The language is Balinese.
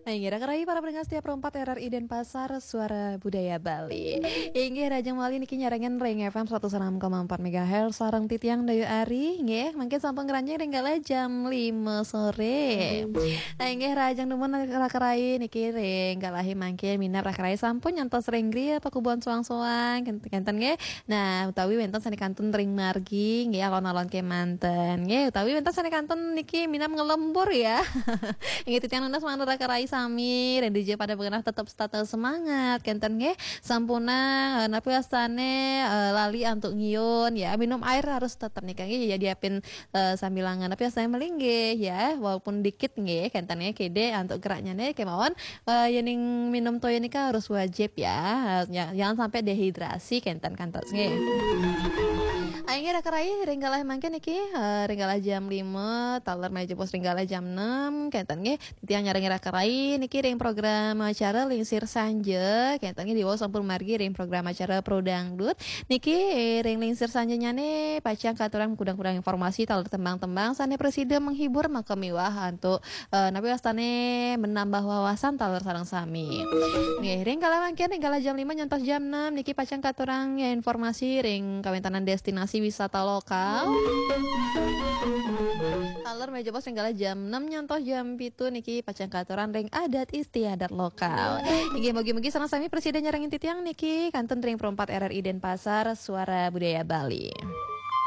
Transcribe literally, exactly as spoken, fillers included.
Nah, inggih, raka rayi para pendengar setia Pro empat R R I Denpasar, Suara Budaya Bali. Inggih, rahajeng malih niki nyarengin ring F M seratus enam koma empat megahertz sareng titiang Dayu Ari, nggih, mangkin sampun ngranjing ring galah jam lima sore. Nah, inggih, rahajeng dumun raka rayi niki ring galahe mangkin minab raka rayi sampun nyantos ring griya pakubuhan soang-soang, kenten, kenten, nggih. Nah, utawi wenten sane kantun ring margi, nggih, alon-alon kemanten, nggih, utawi wenten sane kantun niki minab ngelembur ya. Inggih, titiang nunas manut raka rayi sami, ring dija pada bengenah tetep tetep semangat, kenten, nggih. Sampunang, eh, napi wastane, eh, lali antuk ngiun ya, minum air harus tetep nika, nggih, ya, diapin, eh, sambilangan napi wastane melinggih ya, walaupun dikit, nggih, kenten, nggih, kede antuk geraknya nih kemawon. Eh, yening minum toya nika harus wajib ya. Eh, ja-, jangan sampai dehidrasi kenten kantos nggih. Inggih raka rayi ring galah mangkin niki, eh, ring galah jam lima, taler malih jebos ring galah jam enam kenten nggih. Titiang nyarengin raka rayi niki ring program acara Lingsir Sanja kenten nggih, diwau sampun margi ring program acara Pro Dangdut. Niki ring Lingsir Sanjanyane pacang katurang kudang-kudang informasi taler tembang-tembang sane prasida menghibur makamiwah antuk eh, napi wastane menambah wawasan taler sareng sami. Nggih, ring kala mangkin ring kala jam lima nyantos jam enam niki pacang katurang ya informasi ring kawentanan destinasi wisata lokal. Taler malih jebos ring kala jam enam nyantos jam pitu niki pacang katurang ring adat istiadat lokal. Inggih, mugi-mugi sareng sami prasida nyarengin titiang niki kantun ring Pro empat R R I Denpasar, Suara Budaya Bali.